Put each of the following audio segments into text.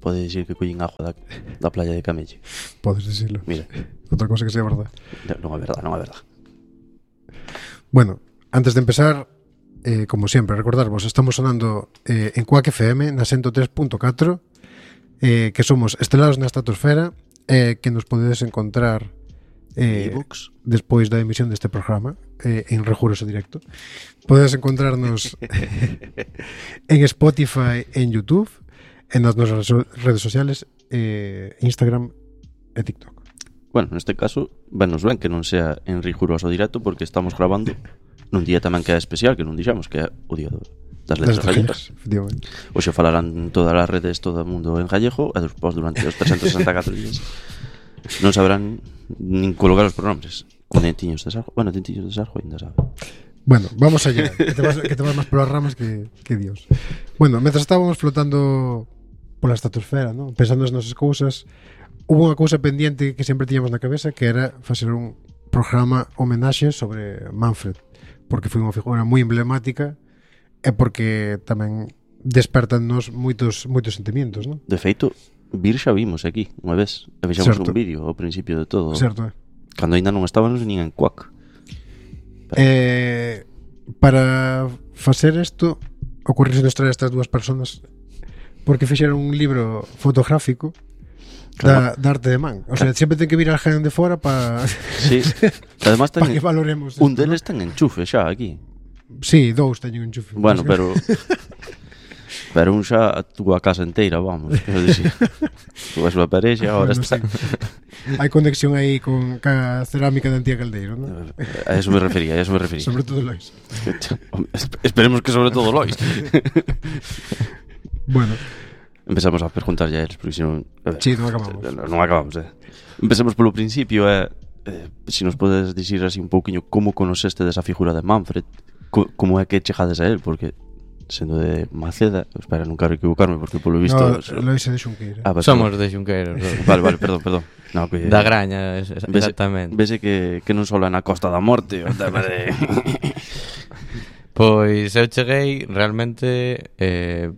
pode dicir que collín agua da playa de Camelle. Podes dicirlo. Mira. Outra cosa que sea verdad. Non é verdad, non é verdad. Bueno, antes de empezar, como sempre, recordarvos, estamos sonando en Quack FM na 103.4, que somos estelados na estratosfera, que nos podedes encontrar despois da emisión deste programa en Rejuroso Directo. Podedes encontrarnos en Spotify, en YouTube, en nas nosas redes sociales, Instagram e TikTok. Bueno, neste caso, venos ben que non sea en Riguroso Directo, porque estamos grabando nun día tamén que é especial, que non dixamos, que é o día das letras gallegas. Efectivamente. Hoxe falarán todas as redes, todo o mundo en gallego, e despois durante os 364 días non saberán nin colocar os pronombres. Tintiños de Sarjo, bueno, Tintiños de Sarjo ainda sabe. Bueno, vamos allá, que te vas máis polas ramas que Dios. Bueno, mentras estábamos flotando pola estratosfera, ¿no? Pensando nas nosas cousas, hubo unha cousa pendiente que sempre tiñamos na cabeza, que era facer un programa homenaxe sobre Manfred, porque foi unha figura moi emblemática e porque tamén despertannos moitos sentimentos, ¿no? De feito, vir xa vimos aquí unha vez, e fixamos un vídeo ao principio de todo. Certo. Cando ainda non estábamos nin en Quack. Para facer isto, ocorrese nos traer estas dúas personas porque fixeron un libro fotográfico da arte de man. O sea, sempre ten que vir alguén de fora para sí. Además ten, que valoremos un esto, deles ten enchufe xa aquí. Sí, dous teñen enchufe. Bueno, pero un xa a túa casa inteira, vamos, quero dicir. Túa súa parexa, agora bueno, está. Sí. Hai conexión aí con a cerámica de Antía Caldeiro, ¿no? A eso me refería, Sobre todo Lois. Esperemos que sobre todo Lois. Bueno. Empezamos a preguntar ya eles, porque senón... Sí, non acabamos. Non acabamos, Empecemos polo principio, se nos podes dicir así un pouquiño como conoceste desa figura de Manfred, como é que chegades a él, porque sendo de Maceda, espera, non quero equivocarme, porque polo visto... No, Lois é de Xunqueira. Somos de Xunqueira. Vale, perdón. No, que, da Graña, exactamente. Vese que non só é na Costa da Morte, o tema de... Pois eu cheguei realmente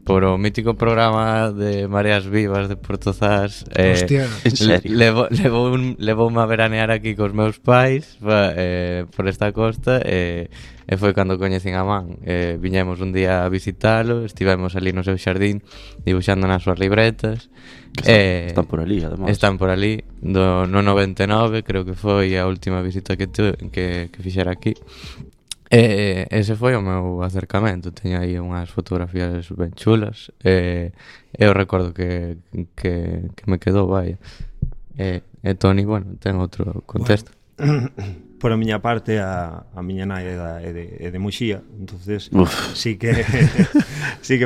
por o mítico programa de Mareas Vivas de Porto Zas. Hostia, en serio? Levoume a veranear aquí cos meus pais por esta costa e foi cando coñecín a man. Viñemos un día a visitalo, estivemos ali no seu xardín dibuixando nas súas libretas. Están por ali, además. Están por ali, no 99, creo que foi a última visita que fixera aquí. Ese foi o meu acercamento. Teño aí unhas fotografías ben chulas eu recordo que me quedou, vai. E Toni, bueno, ten outro contexto. Bueno, por a miña parte a miña nai é de Muxía, entonces sí que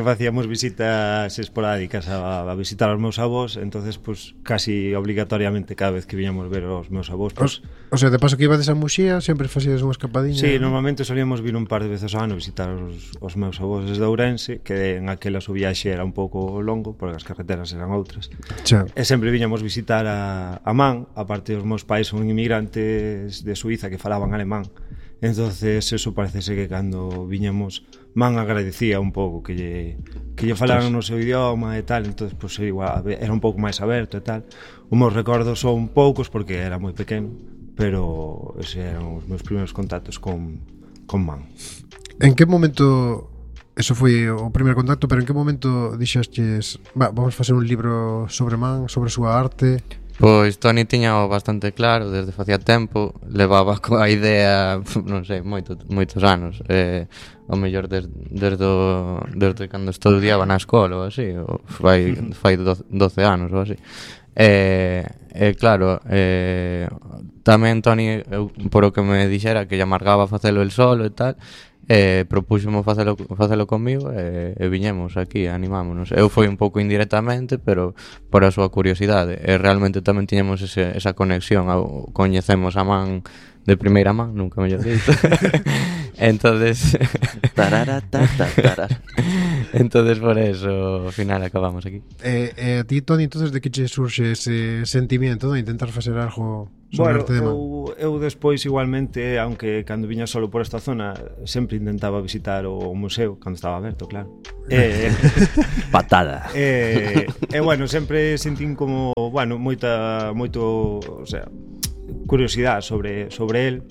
facíamos visitas esporádicas a visitar aos meus avós, entonces pues casi obligatoriamente cada vez que viñamos ver os meus avós pues, o sea, de paso que ibades a Muxía sempre facíades unha escapadinha. Sí, normalmente solíamos vir un par de veces ao ano visitar os meus avós desde Ourense, que en aquelas o viaxe era un pouco longo porque as carreteras eran outras. E sempre viñamos visitar a man, aparte os meus pais son inmigrantes de Suiza que falaban alemán, entonces eso parece ser que cando viñamos man agradecía un pouco que lle falaran no seu idioma e tal, entonces pues igual era un pouco máis aberto e tal. Os meus recordos son poucos porque era moi pequeno, pero eses eran os meus primeiros contactos con man. En que momento, eso foi o primeiro contacto, pero en que momento dixastes, vamos facer un libro sobre man, sobre a súa arte? Pois Toni tiña bastante claro desde facía tempo, levaba coa idea, non sei, moitos anos, ao mellor desde cando estudiaba na escola ou así, ou fai 12 anos ou así. Claro, tamén Toni, por o que me dixera que lle amargaba facelo el solo e tal, propúxome facelo comigo e viñemos aquí, animámonos. Eu foi un pouco indirectamente, pero por a súa curiosidade, e realmente tamén tiñamos esa conexión, coñecemos a man de primeira man, nunca mellor dito. Entonces entonces por eso ao final acabamos aquí. A ti, Toni, entonces de que che surxe ese sentimiento de intentar facer algo sobre arte de man? Eu despois igualmente, aunque cando viña solo por esta zona, sempre intentaba visitar o museo cando estaba aberto, claro. Patada. Bueno, sempre sentín como, bueno, moito, o sea, curiosidade sobre el,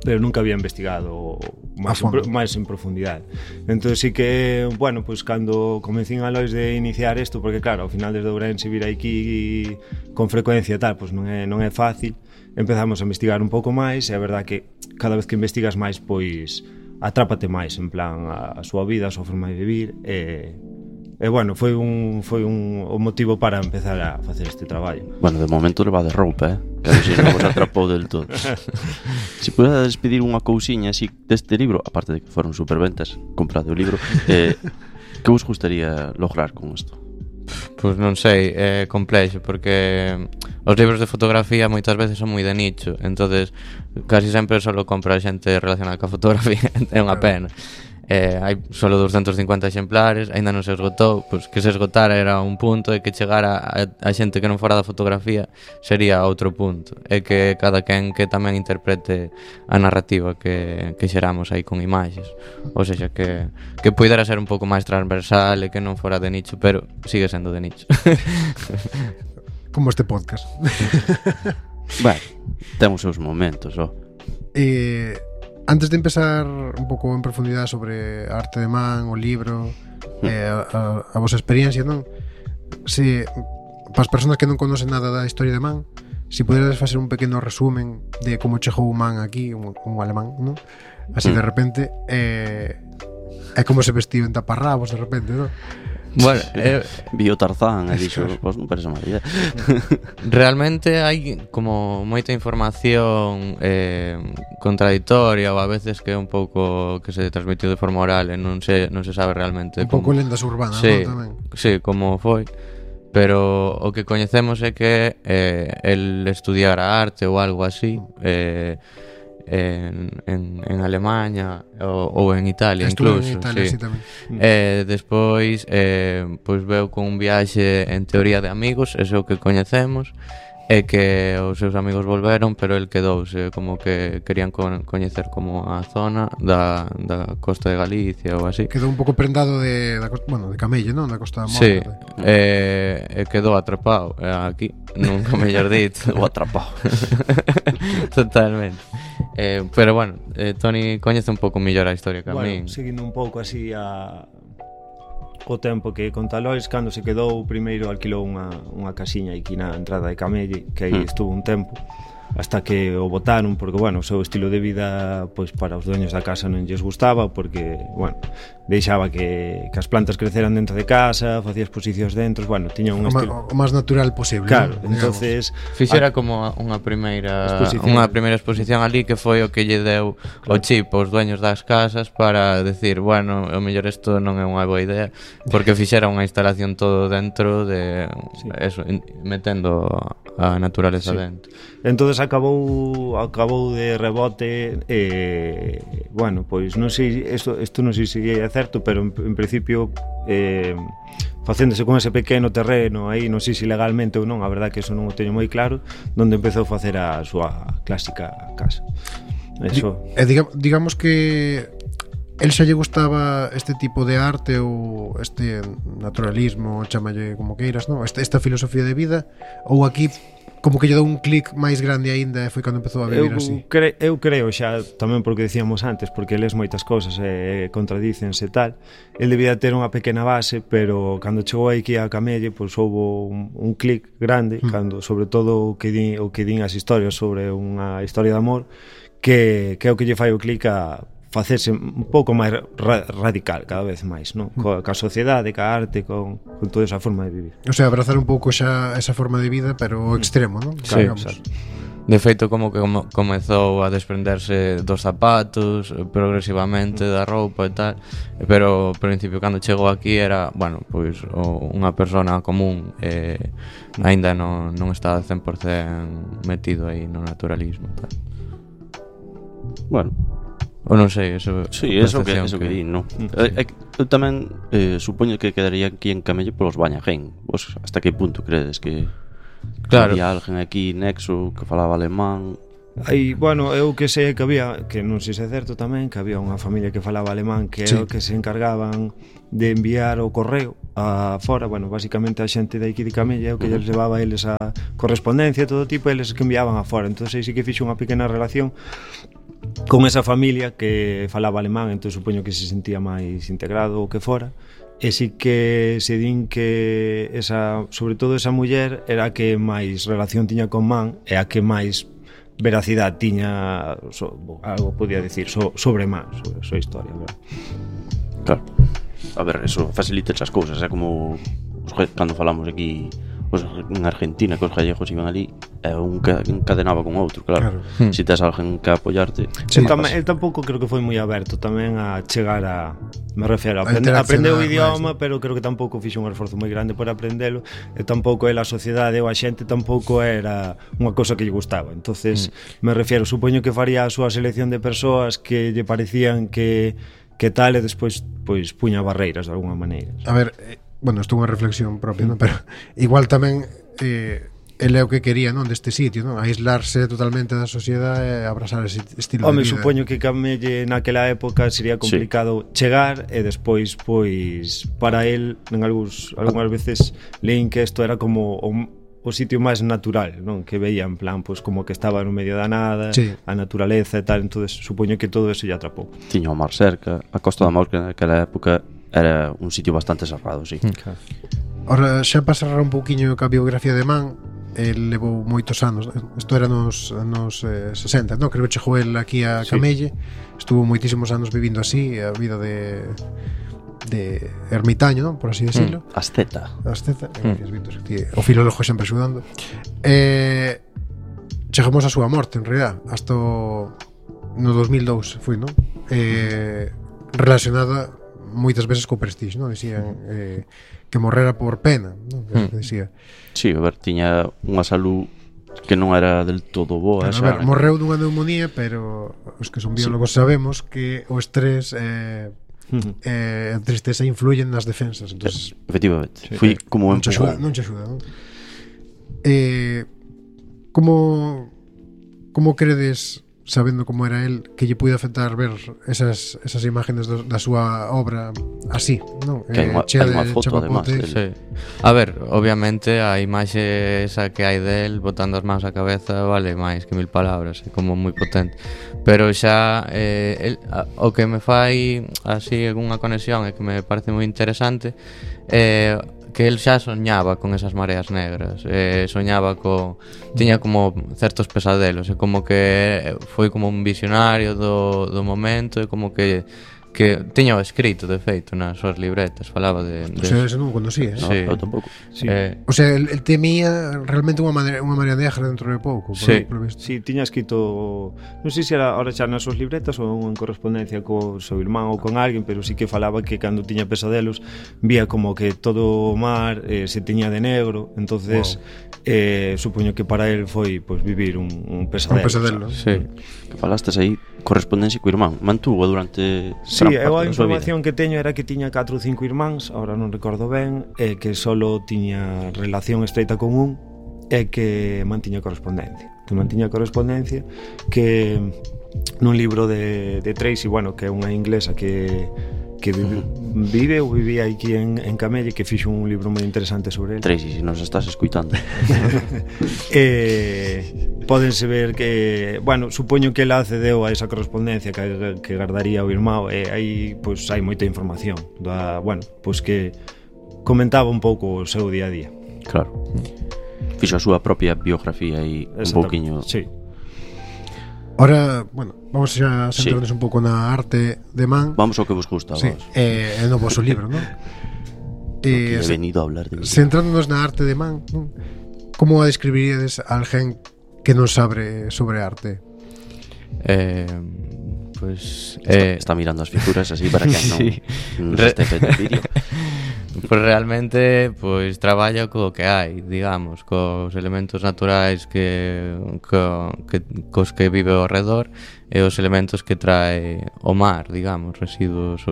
pero nunca había investigado máis en profundidade. Entón sí que, bueno, pues cando comencín a lois de iniciar isto, porque claro, ao final desde Ourense vir aquí con frecuencia tal, pues non é fácil. Empezamos a investigar un pouco máis e a verdad que cada vez que investigas máis, pois atrápate máis, en plan a súa vida, a súa forma de vivir e bueno, foi un motivo para empezar a facer este traballo. Bueno, de momento leva de roupa, que a ver se non vos atrapou del todo. Se pudera despedir unha cousiña así deste libro, aparte de que foron superventas, comprade o libro, que vos gustaría lograr con isto? Pois non sei, é complexo porque os libros de fotografía moitas veces son moi de nicho, entonces casi sempre solo compra xente relacionada ca fotografía, é unha pena. Hai solo 250 exemplares, aínda non se esgotou, pois que se esgotara era un punto e que chegara a xente que non fora da fotografía sería outro punto, e que cada quen que tamén interprete a narrativa que xeramos aí con imaxes, ou seja, que puidera ser un pouco máis transversal e que non fora de nicho, pero sigue sendo de nicho. Como este podcast. Bueno, temos seus momentos, ó. Antes de empezar un pouco en profundidade sobre a arte de man, o libro, a vosa experiencia, non? Se para as persoas que non conocen nada da historia de man, se poderes facer un pequeno resumen de como chegou o man aquí, un alemán, non? Así de repente, é como se vestiu en taparrabos de repente, non? Bueno, vi o Tarzán e dixo, pois non parece mala idea. Realmente hai como moita información contradictoria ou a veces que é un pouco que se transmitiu de forma oral e non se sabe realmente un pouco lendas urbanas, sí, non? Tamén. Sí, como foi. Pero o que coñecemos é que el estudiara arte ou algo así en Alemania ou en Italia. Estuve incluso en Italia, sí. Tamén. Despois pois veu con un viaxe en teoría de amigos, eso é o que coñecemos, e que os seus amigos volveron, pero el quedouse, como que querían coñecer como a zona da costa de Galicia ou así. Quedou un pouco prendado de Camelle, non? Da Costa da Morte. Sí, quedou atrapado aquí, nunca mellor dito. O atrapado. Totalmente. Pero bueno, Toni coñece un pouco mellor a historia que a min. Seguindo un pouco así o tempo que conta Lois, cando se quedou primeiro alquilou unha casiña aquí na entrada de Camelle, que aí estuvo un tempo hasta que o botaron porque, bueno, o seu estilo de vida pois para os dueños da casa non lles gustaba porque, bueno, deixaba que as plantas creceran dentro de casa, facía exposicións dentro, bueno, tiña un estilo o máis natural posible. Claro, ¿no? entonces fixera como unha primeira exposición ali que foi o que lle deu o chip aos dueños das casas para decir, bueno, o mellor isto non é unha boa idea, porque fixera unha instalación todo dentro de eso, metendo a naturaleza dentro. Entonces acabou de rebote bueno, pois non sei, isto non sei se é certo, pero en principio facéndose con ese pequeno terreno aí, non sei se legalmente ou non, a verdad que eso non o teño moi claro, onde empezou a facer a súa clásica casa. Eso. Digamos que el xa lle gustaba este tipo de arte ou este naturalismo, chamalle como queiras, non? Esta filosofía de vida, ou aquí como que lle dou un clic máis grande aínda e foi cando empezou a vivir así. Eu creo xa, tamén porque decíamos antes, porque lees moitas cousas e contradícense e tal, el debía ter unha pequena base, pero cando chegou aquí a Camelle, pois houbo un clic grande, cando sobre todo o que din as historias sobre unha historia de amor, que é o que lle fai o clic a facerse un pouco máis radical cada vez máis, non? Ca sociedade, ca arte, con toda esa forma de vivir. O sea, abrazar un pouco xa esa forma de vida, pero o extremo, non? Sí, exacto. De feito, como que comezou a desprenderse dos zapatos progresivamente, da roupa e tal, pero ao principio cando chegou aquí era, bueno, pois unha persona común, aínda non estaba 100% metido aí no naturalismo e tal. Bueno, ou non sei, eso sí, eso que di, non? Eu tamén supoño que quedaría aquí en Camelle polos Bañagén. Vos hasta que punto credes que Claro. Había alguén aquí nexo que falaba alemán. Aí, bueno, eu que sei que había, que non sei se é certo tamén, que había unha familia que falaba alemán que é o que se encargaban de enviar o correo a fora, bueno, basicamente a xente de aquí de Camelle, o que lles levaba a eles a correspondencia, todo tipo, eles que enviaban a fora. Entón aí sí que fixo unha pequena relación con esa familia que falaba alemán, entón supoño que se sentía máis integrado o que fora. E sí que se din que esa, sobre todo esa muller era a que máis relación tiña con man e a que máis veracidade tiña algo podía decir sobre man, sobre a súa historia, verdad? Claro. A ver, eso facilita esas cousas, é como cando falamos aquí en Argentina que os gallegos iban ali e un que encadenaba con outro, claro. Si tes alguén que apoiarte. El tampouco creo que foi moi aberto tamén a chegar a, me refiero, aprendeu o idioma, pero creo que tampouco fixo un esforzo moi grande por aprendelo, e tampouco a sociedade ou a xente tampouco era unha cousa que lle gustaba. Entonces, me refiero, supoño que faría a súa selección de persoas que lle parecían que tal, e despois pois puña barreiras de alguna maneira. A ver, bueno, isto é unha reflexión propia, non? Pero igual tamén ele é o que quería, non, deste sitio, non? Aislarse totalmente da sociedade e abrazar ese estilo de vida. Supoño que Camelle naquela época sería complicado chegar e despois, pois, para el, algunhas veces leín que isto era como o sitio máis natural, non? Que veía en plan, pois, como que estaba no medio da nada, a naturaleza e tal, entonces supoño que todo eso lle atrapou. Tiña o mar cerca, a Costa da Morte naquela época era un sitio bastante cerrado, sí. Claro. Ora, xa para cerrar un pouquiño a biografía de Man, el levou moitos anos, isto era nos 60, non? Creo que chegou el aquí a Camelle, estuvo moitísimos anos vivindo así, a vida de ermitaño, non? Por así decirlo. Asceta, o filólogo sempre axudando. Chegamos a súa morte, en realidad, hasta no 2002 foi, non? Relacionada moitas veces co prestixio, non? Dicían que morrera por pena, non? Que dicía. Sí, a ver, tiña unha salud que non era del todo boa. Pero, a ver, morreu dunha neumonía, pero os que son biólogos sabemos que o estrés a tristeza influyen nas defensas, entonces efectivamente, foi como un empujón. Non che axuda, non? Como credes, sabendo como era el, que lle puide afectar ver esas imágenes da súa obra así, non? Que hai unha foto, además. Sí. A ver, obviamente a imaxe esa que hai del botando as mans á cabeza vale máis que 1000 palabras, é como moi potente. Pero xa o que me fai así algunha conexión e que me parece moi interesante que el xa soñaba con esas mareas negras, soñaba tiña como certos pesadelos, e como que foi como un visionario do momento, e como que tiña o escrito, de feito, nas súas libretas, falaba de o sea, eso non o conocía, sí. No, eu tampouco. Sí. O sea, el temía realmente unha marea negra dentro de pouco, por visto. Sí, tiña escrito, non sei se era ahora xa nas súas libretas ou en correspondencia co seu irmán ou con alguén, pero sí que falaba que cando tiña pesadelos vía como que todo o mar se tiña de negro, entonces supoño que para él foi pues, vivir un pesadelo. Un pesadelo. Sí. Que falastes aí correspondencia co irmán, mantuvo durante sí, eu a información que teño era que tiña 4 ou 5 irmáns, agora non recordo ben, e que solo tiña relación estreita con un e que mantiña correspondencia. Que nun libro de Tracy, bueno, que é unha inglesa que vive ou vivía aquí en Camelle, que fixo un libro moi interesante sobre ele. Tracy, se nos estás escuitando. Pódense ver que, bueno, supoño que ela accedeu a esa correspondencia que guardaría o irmão, e aí pois hai moita información bueno, pois que comentaba un pouco o seu día a día. Claro. Fixo a súa propia biografía e un pouquiño. Sí. Ahora, bueno, vamos a centrarnos un pouco na arte de Man. Vamos ao que vos gusta, sí. Vos. No vosso libro, non? He venido a hablar de mí. Centrándonos na arte de Man, non? Como a describiríades a alguén que non sabe sobre arte? Pues está mirando as figuras así para que non este feito vídeo. Pues realmente pois traballa co que hai, digamos, cos elementos naturais cos que vive ao redor, e os elementos que trae o mar, digamos, residuos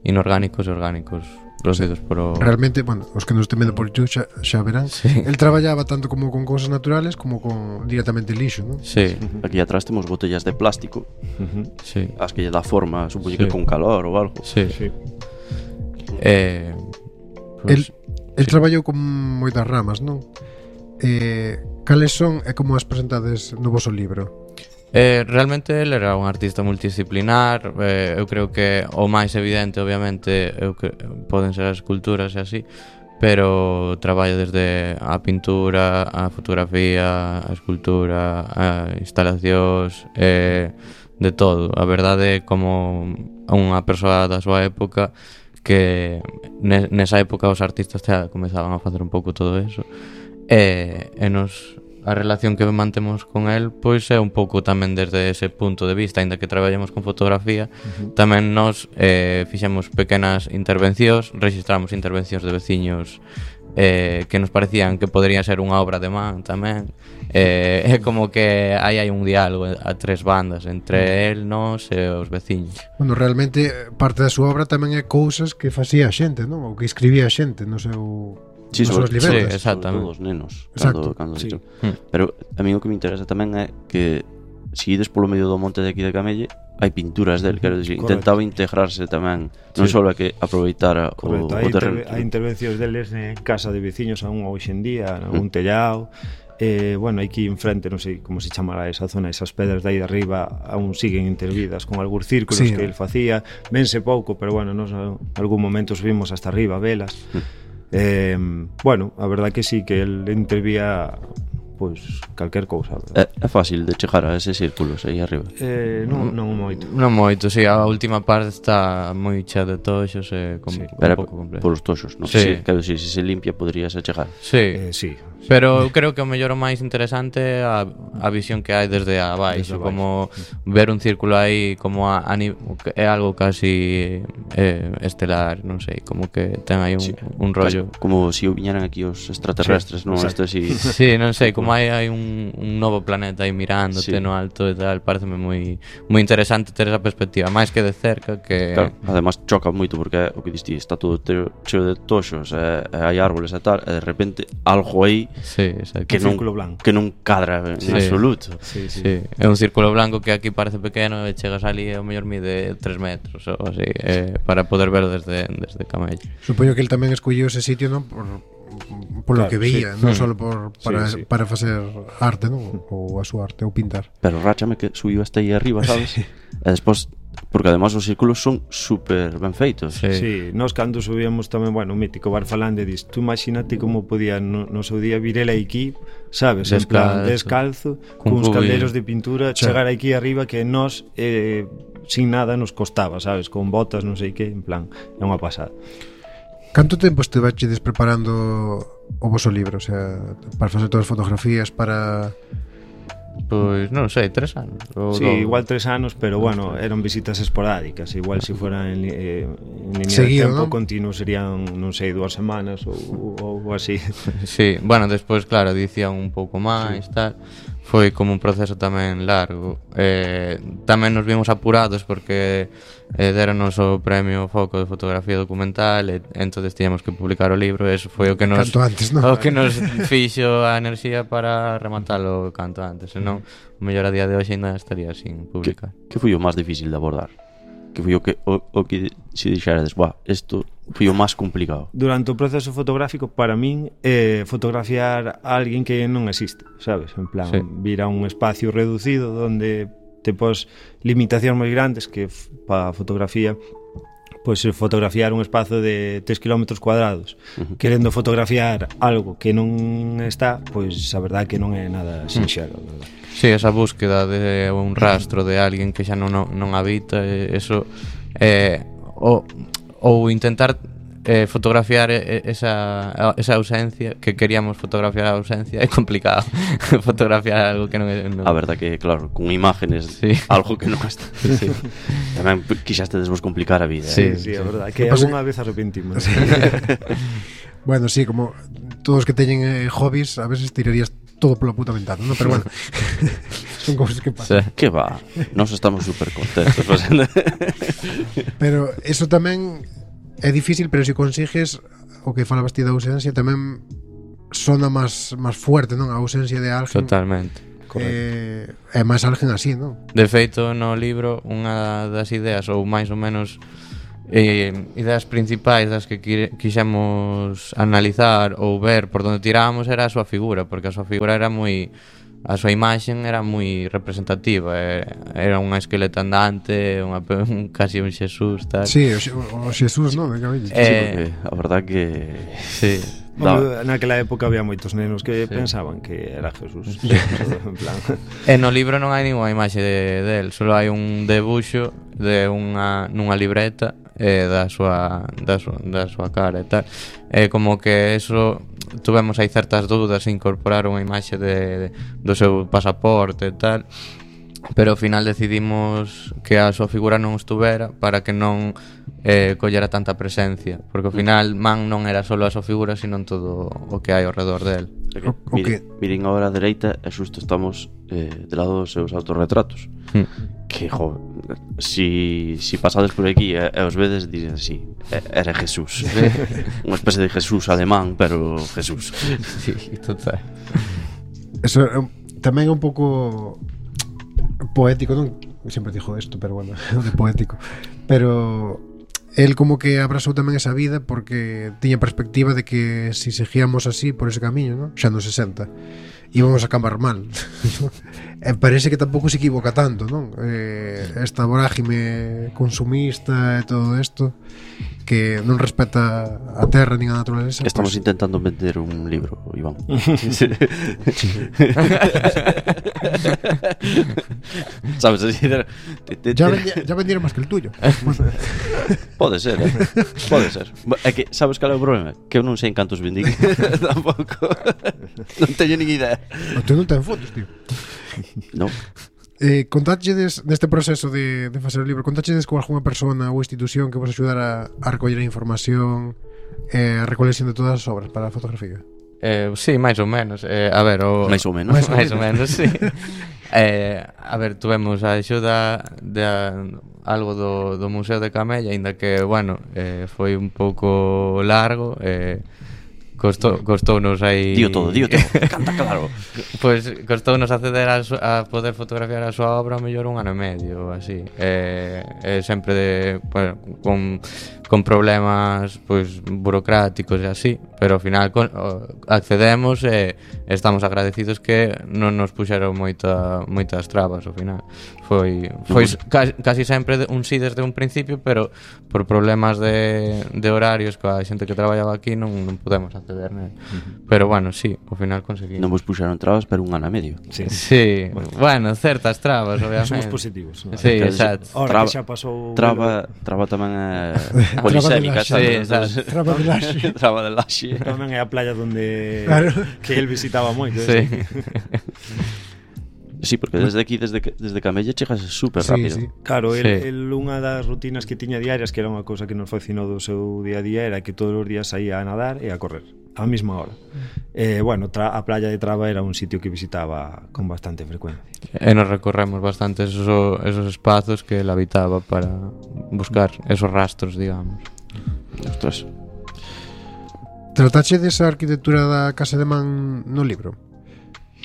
inorgánicos e orgánicos producidos por realmente, bueno, os que nos estén vendo por YouTube xa verán, el traballaba tanto como con cousas naturales como con directamente lixo, non? Sí. Aquí atrás temos botellas de plástico, Sí. as que lle dá forma, supoño que con calor ou algo. Sí. El traballou con moitas ramas, non? Cales son e como as presentades no voso libro? Realmente ele era un artista multidisciplinar. Eu creo que o máis evidente, obviamente, poden ser as esculturas e así, pero traballa desde a pintura, a fotografía, a escultura, a instalacións, de todo. A verdade é como unha persoa da súa época que nesa época os artistas xa comezaban a facer un pouco todo eso, e a relación que mantemos con el pois é un pouco tamén desde ese punto de vista. Aínda que traballamos con fotografía, tamén nos fixemos pequenas intervencións, registramos intervencións de veciños que nos parecían que podría ser unha obra de man tamén. É como que hai un diálogo a tres bandas entre el, nós e os veciños. Bueno, realmente parte da súa obra tamén é cousas que facía a xente, non? Ou que escribía a xente no seu... Sí, sobre, sí, exactamente. Sobre todo os nenos cando sí. Pero a mí o que me interesa tamén é que se ides polo medio do monte de aquí de Camelle hai pinturas del, quero dicir, intentaba integrarse tamén, non só que aproveitara o terreno. Hai intervencións deles en casa de veciños aún hoxe en día, un tellao. Bueno, aquí enfrente, non sei como se chamará esa zona, esas pedras de aí de arriba aún siguen intervidas con algúns círculos que el facía, vense pouco, pero bueno, nos algún momento subimos hasta arriba a velas. Bueno, a verdad que sí, que el intervía pois calquer cousa. É fácil de chegar a ese círculos aí arriba? Non moito. Non moito, si, a última parte está moi chea de toxos e un pouco complejo. Por os toxos, non? Sí. Quero dicir, se se limpia poderías chegar. Sí. Sí. Pero eu creo que o mellor o máis interesante é a visión que hai desde abaixo, como ver un círculo aí como é algo casi estelar, non sei, como que ten aí un rollo. Como se viñeran aquí os extraterrestres, non? Isto así. Sí, non sei, como hai un novo planeta aí mirándote no alto e tal, pareceme moi interesante ter esa perspectiva, máis que de cerca que... Claro, además choca moito porque o que diste, está todo cheo de toxos, hai árboles e tal, e de repente algo aí que non cadra en absoluto. Sí. É un círculo blanco que aquí parece pequeno e chegas ali e o mellor mide 3 metros ou así, para poder ver desde Camelle. Supoño que el tamén escolliu ese sitio, non? Por lo que veía, non só para facer arte, non? Ou a súa arte, ou pintar. Pero ráchame que subiu hasta aí arriba, sabes? E despois, porque además os círculos son super ben feitos. Sí, nós cando subíamos tamén, bueno, o mítico Bar Falande dis, tú imagínate como podía no seu día vir ele aquí, sabes, en plan descalzo, cuns calderos de pintura, chegar aquí arriba que nós sin nada nos costaba, sabes, con botas, non sei que, en plan, é unha pasada. Canto tempo estiveches preparando o voso libro? O sea, para facer todas as fotografías, para... Pois non sei, 3 anos. Sí, igual 3 anos, pero bueno, eran visitas esporádicas. Igual se fuera en línea seguido, de tempo, ¿no? continuo serían, non sei, 2 semanas ou así. Sí, bueno, despois, claro, dicían un pouco máis, tal. Foi como un proceso tamén largo. Tamén nos vimos apurados porque déranos o premio Foco de Fotografía Documental e entonces tiñamos que publicar o libro. Eso foi o que nos fixo a enerxía para rematalo canto antes. Senón, o mellor a día de hoxe ainda estaría sin publicar. Que foi o máis difícil de abordar? Que foi o que se dixerades, isto foi o máis complicado? Durante o proceso fotográfico, para min, fotografiar a alguén que non existe, sabes? En plan, vir a un espacio reducido onde te pos limitacións moi grandes que para fotografía, pois fotografiar un espazo de 3 km cuadrados, querendo fotografiar algo que non está, pois a verdade que non é nada sinxelo, verdad? Sí, esa búsqueda de un rastro de alguén que xa non habita, eso, ou intentar fotografiar esa ausencia, que queríamos fotografiar a ausencia, é complicado. Fotografiar algo que non é... A verdad que, claro, con imágenes, algo que non está. Tamén quixastes vos complicar a vida. Sí, a verdad, que alguna vez arrepentimos. Bueno, sí, como todos que teñen hobbies, a veces tirarías todo pola puta ventana, ¿no? Pero bueno, son cousas que pasan. Que va, nos estamos super contentos. Pero eso tamén é difícil, pero se consigues o que falabas ti da ausencia tamén sona máis fuerte, non? A ausencia de alguén. Totalmente. É máis alguén así, non? De feito, no libro, unha das ideas, ou máis ou menos ideas principais das que quixemos analizar ou ver por onde tirábamos era a súa figura, porque a súa figura era moi... A súa imaxen era moi representativa, era unha esqueleta andante, casi un Xesús, tal. Sí, o Xesús, non? Sí, porque a verdad que... Sí. Naquela época había moitos nenos que pensaban que era Jesús. En plan. No libro non hai ninguna imaxe del, só hai un debuxo de nunha libreta da súa cara e tal. Como que eso tuvemos aí certas dúdas en incorporar unha imaxe do seu pasaporte e tal, pero ao final decidimos que a súa figura non estuvera para que non collera tanta presencia, porque ao final Man non era só a súa figura, sino todo o que hai ao redor del. Miren agora a dereita e xusto estamos de lado dos seus autorretratos, que, si pasades por aquí e os vedes, dicen así, era Jesús. Unha especie de Jesús alemán, pero Jesús. Sí, total. Eso tamén é un pouco poético, non? Sempre dixo isto, pero bueno, de poético. Pero el como que abrazou tamén esa vida porque tiña perspectiva de que si seguíamos así por ese camiño, ¿no? Xa nos 60 íbamos a acabar mal. E parece que tampouco se equivoca tanto, non? Esta vorágime consumista e todo isto que non respeta a terra nin a naturaleza. Estamos intentando vender un libro, Iván. Sabes, ya vendieron máis que el tuyo. Pode ser, pode ser. É que, sabes cal é o problema? Que eu non sei en cantos vendín. Tampouco. Non teño nin idea. Tú non ten fotos, tío. Non. Contáchedes neste proceso de facer o libro, contáchedes con algunha persona ou institución que vos axudara a recoller a información, a recolección de todas as obras para a fotografía? Sí, máis ou menos. A ver, máis ou menos, sí. A ver, tuvemos a axuda de algo do Museo de Camella, aínda que, bueno, foi un pouco largo, costounos aí... Dío todo, canta claro. Pois costounos acceder a poder fotografiar a súa obra ao mellor un ano e medio, así. Sempre bueno, con problemas pois burocráticos e así, pero ao final accedemos e estamos agradecidos que non nos puxeron moitas trabas ao final. Foi casi sempre un sí desde un principio, pero por problemas de horarios coa xente que traballaba aquí non podemos acceder nel. Pero bueno, sí, ao final conseguimos. Non vos puxeron trabas, pero un ano e medio. Sí. Bueno, certas trabas, obviamente. Somos positivos, ¿no? Sí, exacto. Ahora que xa pasou traba tamén é polisémica, sabes? Traba de laxe. Traba de laxe. Tamén é a playa onde claro, que el visitaba moito. Sí. Sí, porque desde aquí, desde Camella chegas super rápido. Sí. Claro, el unha das rutinas que tiña diarias, que era unha cousa que nos fascinou do seu día a día, era que todos os días saía a nadar e a correr á mesma hora. Bueno, a playa de Traba era un sitio que visitaba con bastante frecuencia. E nos recorremos bastante esos espazos que él habitaba para buscar esos rastros, digamos. Ostras. Tratache desa arquitectura da Casa de Man no libro?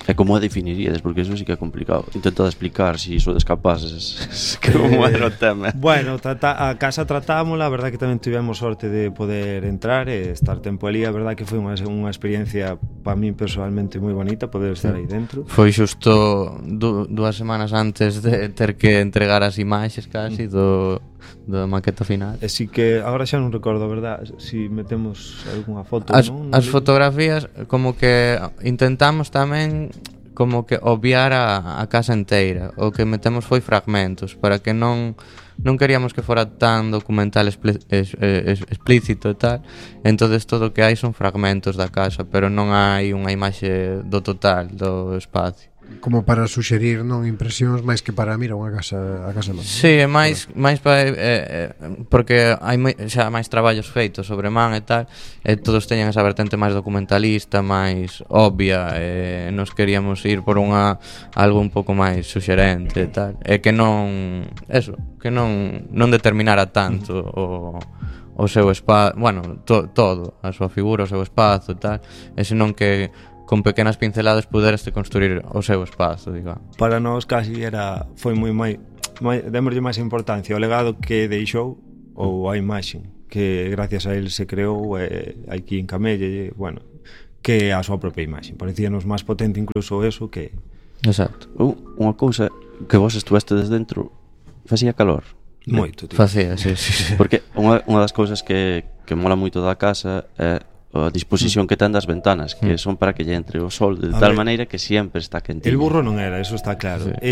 E como a definiríades? Porque eso sí que é complicado. Intentad explicar si sodes capaces que como era o tema. Bueno, a casa tratámola. A verdad que tamén tivemos sorte de poder entrar e estar tempo ali. A verdad que foi unha experiencia para mí personalmente moi bonita poder estar aí dentro. Foi xusto 2 semanas antes de ter que entregar as imaxes casi do maqueta final. Así que agora xa non recordo, a verdad, si metemos algunha foto, non? As fotografías como que intentamos tamén como que obviar a casa inteira. O que metemos foi fragmentos para que non queríamos que fora tan documental explícito e tal. Entonces todo o que hai son fragmentos da casa, pero non hai unha imaxe do total do espacio. Como para suxerir, non, impresións máis que para mirar unha casa, a casa Man. Sí, é máis para porque hai xa máis traballos feitos sobre Man e tal, e todos teñen esa vertente máis documentalista, máis obvia, e nos queríamos ir por algo un pouco máis suxerente e tal, e que non determinara tanto o seu espazo, bueno, todo, a súa figura, o seu espazo e tal, e senón que con pequenas pinceladas puderaste construir o seu espazo, digamos. Para nós casi foi moi démoslle máis importancia ao legado que deixou ou a imaxe que gracias a él se creou aquí en Camelle, bueno, que a súa propia imaxe. Parecíanos máis potente incluso eso que... Exacto. Unha cousa que vos estuveste desde dentro, facía calor. Moito, tío. Facía, sí. Porque unha das cousas que mola moito da casa é a disposición que ten das ventanas, que son para que lle entre o sol de tal maneira que sempre está quentinho. El burro non era, eso está claro. Sí.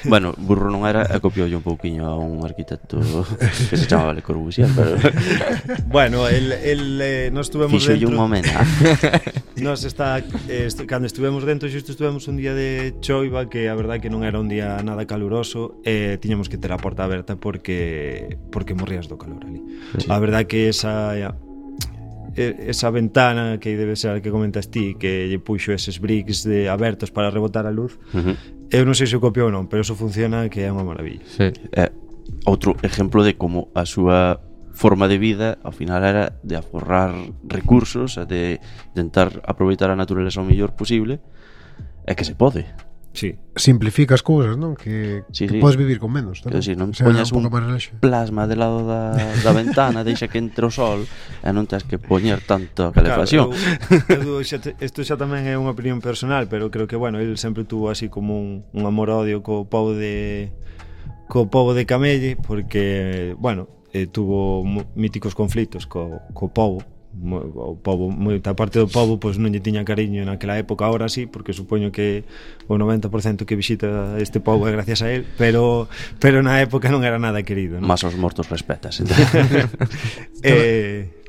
Bueno, burro non era, e copioulle un pouquiño a un arquitecto que se chamaba Le Corbusier, pero bueno, nos estuvemos fixolle dentro. un momento. Cando estuvemos dentro, xusto estuvemos un día de choiva, que a verdade que non era un día nada caluroso, e tiñamos que ter a porta aberta porque morrías do calor ali. Sí. A verdade que esa ventana que debe ser a que comentas ti, que lle puxo eses bricks abertos para rebotar a luz, eu non sei se o copiou ou non, pero eso funciona, que é unha maravilla. Sí. Outro exemplo de como a súa forma de vida ao final era de aforrar recursos e de intentar aproveitar a natureza o mellor posible, e que se pode. Sí. Simplifica as cousas, non? Que podes vivir con menos, non? Decir, non poñas un plasma de lado da ventana, deixa que entre o sol e non tens que poñer tanto calefacción. Claro, isto xa tamén é unha opinión personal, pero creo que, bueno, el sempre tuvo así como un amor-odio co pobo de Camelle, porque, bueno, tuvo míticos conflitos co pobo. O pobo, moita parte do pobo pois non lle tiña cariño naquela época, ahora sí, porque supoño que o 90% que visita este pobo é gracias a él, pero na época non era nada querido, ¿no? Más os mortos respetas.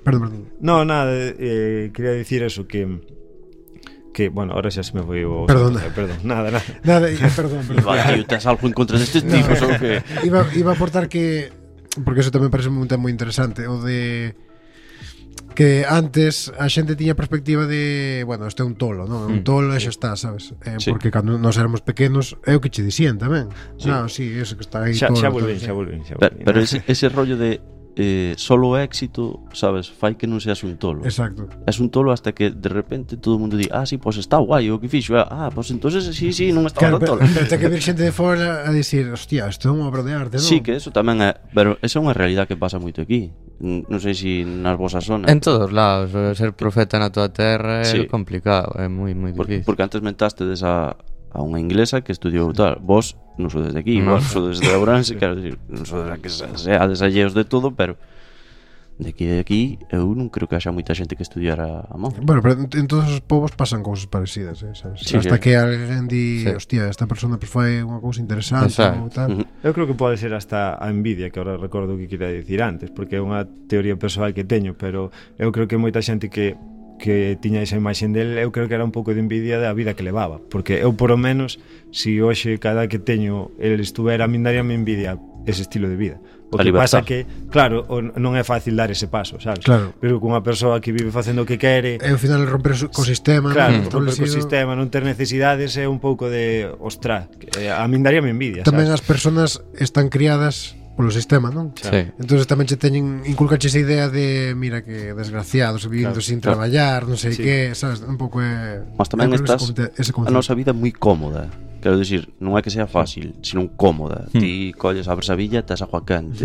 Perdón. No, nada, quería dicir eso, que bueno, ahora xa se me foi o... Perdón, nada. Perdón. Tío, tes algo en contra destes tipos ou que... Iba a aportar que, porque eso tamén parece un tema moi interesante, o de que antes a xente tiña perspectiva de, bueno, este é un tolo, non? Un tolo e xa está, sabes? Sí. Porque cando nós éramos pequenos é o que che dicían tamén. Sí. No, sí, eso que está aí xa tolo. Xa volven. Pero ese rollo de solo o éxito, sabes, fai que non seas un tolo. Exacto. Es un tolo hasta que de repente todo o mundo di, sí, pues está guai o que fixo. Pues entonces sí, non estaba tan tolo. Pero ten que vir xente de fora a dicir, hostia, isto é unha obra de arte, non? Sí, que eso tamén é, pero esa é unha realidade que pasa moito aquí. Non sei se nas vosas zonas. En todos lados, ser profeta na tua terra é complicado, é moi difícil. Porque antes mentaste a unha inglesa que estudiou tal. Vos non sodes de aquí, vos sodes de Ourense, quero dicir, non sodes que seades alleos de todo, pero de aquí eu non creo que haxa moita xente que estudiara a mão. Bueno, pero en todos os povos pasan cousas parecidas, sabes? Sí, hasta que alguén di, hostia, esta persona fai unha cousa interesante ou tal. Eu creo que pode ser hasta a envidia, que ahora recordo o que quería dicir antes, porque é unha teoría persoal que teño, pero eu creo que moita xente que tiña esa imaxe del, eu creo que era un pouco de envidia da vida que levaba, porque eu por o menos, si hoxe cada que teño el estuvera, a min daríame envidia ese estilo de vida. O que pasa que, claro, non é fácil dar ese paso, sabes? Claro. Pero con unha persoa que vive facendo o que quere, ao final romper o sistema, claro, romper o sistema, non ter necesidades, é un pouco de, ostras, a min daríame envidia, tamén sabes? As persoas están criadas polo sistema, non? Sí. Entonces tamén che teñen inculcache esa idea de, mira que desgraciados vivindo sin traballar, non sei que, sabes, un pouco é. Mas tamén estás a nosa vida moi cómoda. Quero dicir, non é que sea fácil, sino cómoda. Ti colles, abres a villa, tes agua quente.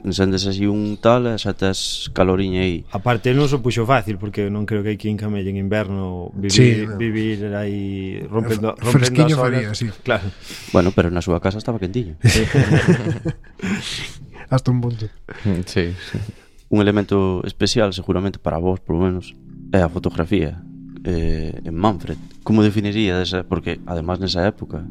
Encendes así un tal e xa tes caloriña aí. Aparte, non se puxo fácil, porque non creo que aquí en Camelle en inverno vivir aí rompendo fresquiño as faría, olas. sí. Claro. Bueno, pero na súa casa estaba quentiño. Hasta un punto. Sí. Un elemento especial, seguramente para vos, por lo menos, é a fotografía. En Manfred, como definiríades? Porque además nesa época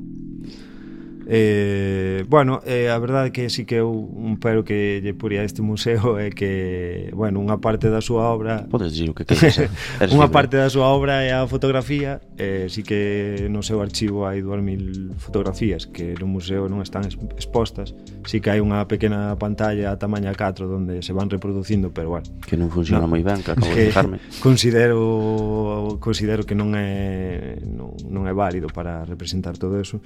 bueno, a verdade que sí que eu un pero que lle puría este museo é que, bueno, unha parte da súa obra, podes dicir o que queres, unha parte da súa obra é a fotografía, sí que no seu archivo hai 2000 fotografías que no museo non están expostas, sí que hai unha pequena pantalla a tamaña 4 onde se van reproducindo, pero bueno, que non funciona moi ben, que acabo de fijarme. Considero que non é válido para representar todo eso.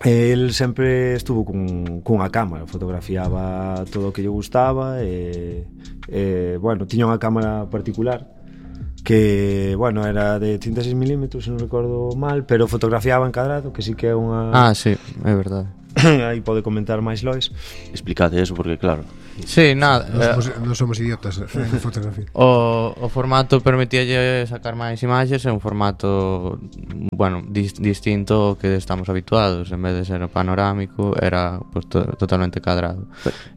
El sempre estuvo cunha cámara, fotografiaba todo o que lle gustaba bueno, tiña unha cámara particular que, bueno, era de 36mm, se non recordo mal, pero fotografiaba encadrado, que sí que é unha... sí, é verdade. Aí pode comentar máis Lois. Explicade eso porque claro. Sí, nada. Non somos idiotas en fotografía. O formato permitíalle sacar máis imaxes, é un formato, bueno, distinto ao que estamos habituados. En vez de ser panorámico, era pues, totalmente cadrado.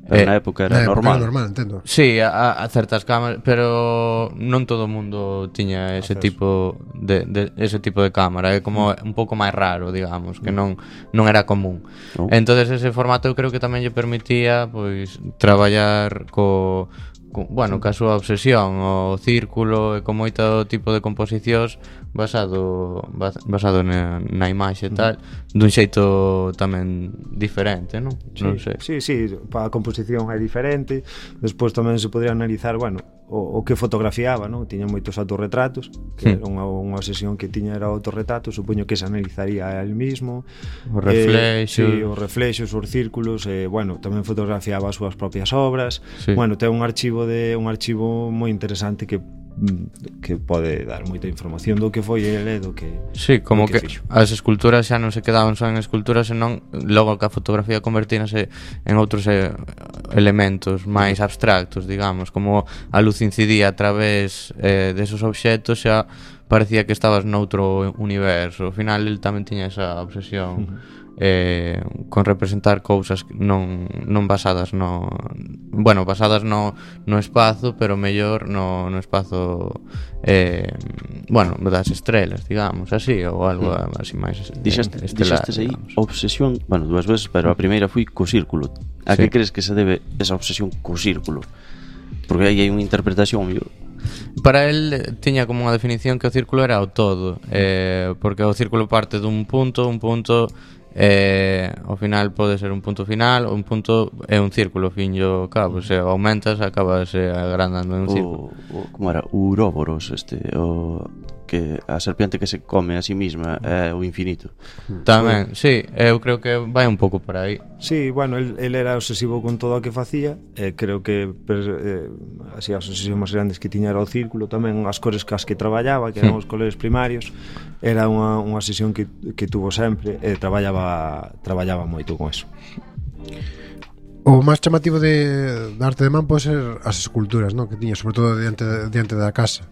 Pero na época era normal. Era normal, entendo. Sí, a certas cámaras, pero non todo o mundo tiña ese tipo de cámara. É como un pouco máis raro, digamos, que non era común. Entonces ese formato eu creo que tamén lle permitía pois traballar bueno, ca súa obsesión, o círculo e con moito tipo de composicións basado na imaxe e tal, dun xeito tamén diferente, non? Non sei. Sí, a composición é diferente. Despois tamén se podría analizar, bueno, o que fotografiaba, non? Tiña moitos autorretratos, que era unha obsesión que tiña era o autorretrato, supoño que se analizaría a él mismo. Os reflexos. Sí, os reflexos, os círculos, bueno, tamén fotografiaba as súas propias obras. Sí. Bueno, ten un archivo moi interesante que pode dar moita información do que foi ele, do que... Sí, como que fixo. as esculturas xa non se quedaban só en esculturas, senón logo que a fotografía convertínase en outros elementos máis abstractos, digamos, como a luz incidía a través desos obxetos, xa parecía que estabas noutro universo. Ao final el tamén tiña esa obsesión con representar cousas non basadas basadas no espazo, pero mellor no espazo bueno, das estrelas, digamos, así, ou algo así máis estelar. Dixestes aí obsesión, bueno, dúas veces, pero a primeira foi co círculo. A que crees que se debe esa obsesión co círculo? Porque aí hai unha interpretación mellor. Para él tiña como unha definición que o círculo era o todo, porque o círculo parte dun punto ao final pode ser un punto final, un punto é un círculo, fin e ao cabo, se aumentas acabas agrandando en un círculo. Como era? Uróboros, o que a serpiente que se come a sí misma é o infinito. Tamén, sí, eu creo que vai un pouco por aí. Sí, bueno, el era obsesivo con todo o que facía, creo que así as obsesións máis grandes que tiña era o círculo, tamén as cores cas que traballaba, que eran os colores primarios, era unha obsesión que tuvo sempre, traballaba moito con eso. O máis chamativo de arte de man pode ser as esculturas, non? Que tiña, sobre todo diante da casa.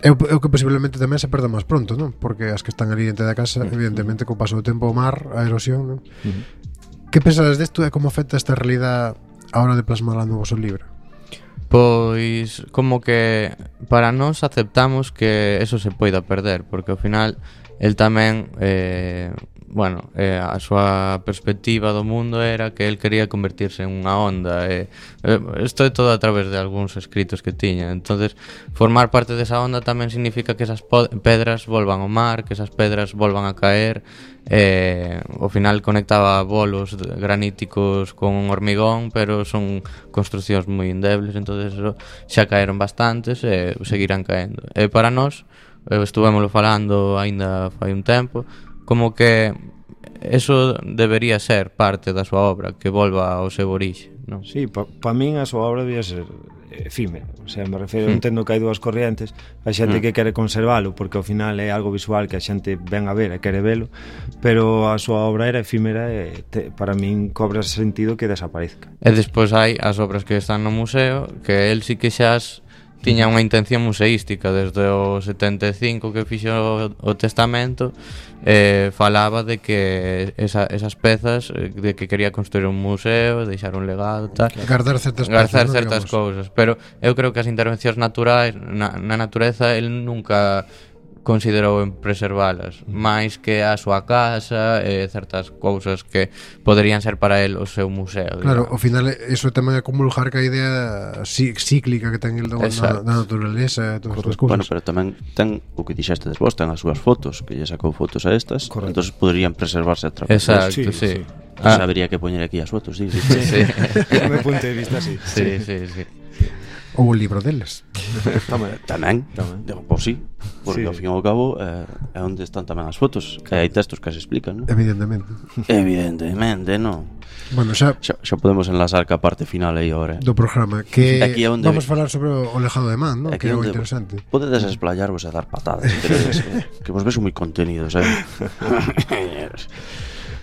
É o que posiblemente tamén se perda máis pronto, non? Porque as que están ali diante da casa, evidentemente, co paso do tempo, o mar, a erosión, non? Que pensades desto e como afecta esta realidad a hora de plasmarla no vosso libro? Pois como que para nós aceptamos que eso se poida perder, porque ao final el tamén bueno, a súa perspectiva do mundo era que el quería convertirse en unha onda, isto é todo a través de algúns escritos que tiña. Entonces formar parte desa onda tamén significa que esas pedras volvan ao mar, que esas pedras volvan a caer. Ao final conectaba bolos graníticos con un hormigón, pero son construcións moi endebles, entonces eso, xa caeron bastantes e seguirán caendo. E para nós, estuvémoslo falando aínda fai un tempo, como que eso debería ser parte da súa obra, que volva ao seu orixe, non? Sí, pa min a súa obra debía ser efímera, o sea, me refiro, entendo que hai dúas corrientes, a xente que quere conservalo porque ao final é algo visual que a xente ven a ver e quere velo, pero a súa obra era efímera e para min cobra sentido que desaparezca. E despois hai as obras que están no museo, que el sí que xa tiña unha intención museística desde o 75 que fixo o testamento, falaba de que esas pezas, de que quería construir un museo, deixar un legado, tal, guardar certas cousas, pero eu creo que as intervencións naturais na natureza el nunca considerou en preservalas, máis que a súa casa e certas cousas que poderían ser para el o seu museo. Claro, ao final iso tamén é comulgar ca idea cíclica que ten el da naturaleza e todas as cousas. Bueno, pero tamén ten o que dixeste vos, ten as súas fotos, que lle sacou fotos a estas, entonces poderían preservarse a través. Exacto, sí. Habría que poñer aquí as fotos, sí. Do meu punto de vista, sí. Sí. Ou o libro deles. Tamén. Pois sí, porque ao fin e ao cabo é onde están tamén as fotos, e hai textos que se explican, non? Evidentemente, non? Bueno, xa podemos enlazar ca parte final aí agora do programa, que vamos falar sobre o lejado de Man, non? Que é o interesante. Podedes explayarvos e dar patadas, que vos ves moi contenidos,